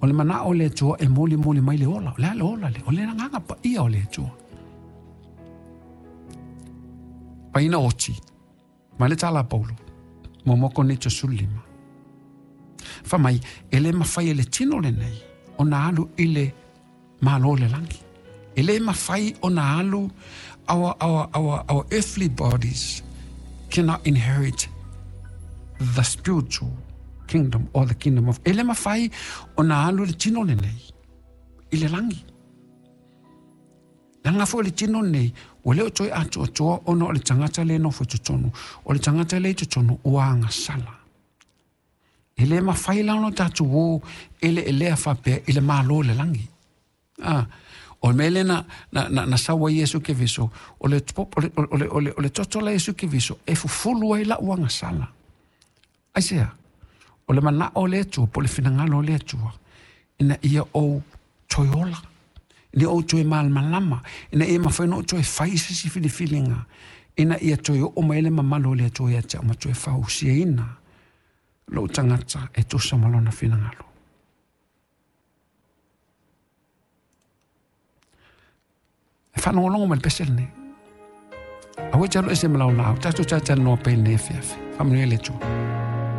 O le manaʻo o le Atua e molimoli mai le ola. O le a le ola lea? O le agaga paia o le Atua. Paina oti, ma le tala a Paulo, mo Korinito 15. Fai mai, e le mafai e le tino lenei ona alu i le Malo o le lagi. E le mafai ona alu our earthly bodies cannot inherit the spiritual kingdom or the kingdom of e le mafai ona alu le tino lenei i le lagi. Leaga foi le tino lenei, ua le o toe atoatoa ona o le tagata lea e nofo i totonu. O le tagata lea i totonu ua agasala. E le mafai la ona tatou o eleelea faapea i le Malo o le lagi. Ah, o le mea lea na sau ai Iesu Keriso, o le, o le, o le, o le, o le toto la Iesu Keriso e fufulu ai lau agasala. Aisea? O le manaʻo o le Atua, po o le finagalo o le Atua, ina ia ou toe ola, ina ia ou toe malamalama, ina ia mafai ona ou toe fai se isi filifiliga, ina ia toe oo mai le mamalu o le Atua ia te au ma toe fausiaina lou tagata e tusa ma lona finagalo. E faalogologo mai le pese lenei. Aua e te alu ese ma lau laau. Tatou talatalanoa pea i lenei afiafi. Faamanuia le Atua.